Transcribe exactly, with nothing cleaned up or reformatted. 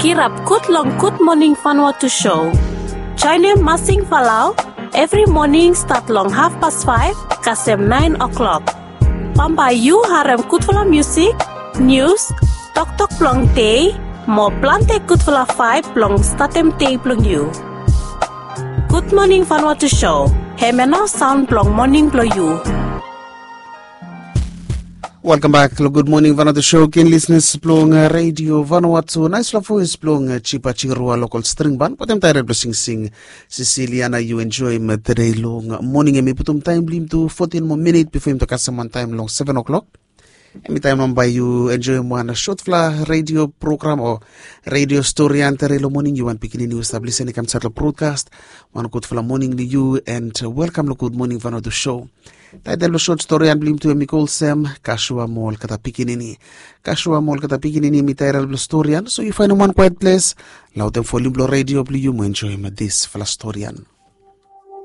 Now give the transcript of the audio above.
Kirap gud long Gud Moning Vanuatu show. Joenem Masing Falau evri moning stat long hafpas faef kasem naen o'klok. Bambae yu harem gudfala musik, nius, toktok blong dei, mo plante gudfala vaeb blong statem dei blong yu. Gud Moning Vanuatu show, hemia nao saon blong moning blong yu. Welkam bek long Gud Moning Vanuatu show, ken lisnas blong Redio Vanuatu. Naesfala voes blong Jipa Jirua, lokal string ban, batem taerel blong singsing Sisiliana. Yu enjoem tede long moning, hemi putum taem blong yumi tu fotin moa minit bifo yumi tu kasem wantaem long seven o'klok. Hemi taem nao bae yu enjoem wan sotfala redio program o redio storian tede long moning. Yu wan pikinini yu stap lisin i kam insaed long brodkas, wan gudfala moning long yu and welkam long Gud Moning Vanuatu show. Taetel blong sot storian blong yumi tu hemi go olsem Kasua mo olgeta pikinini. Kasua mo olgeta pikinini hemi taetel blong storian, so yu faenem wan kwaet ples, laodem volim blong redio blong yu mo enjoem disfala storian.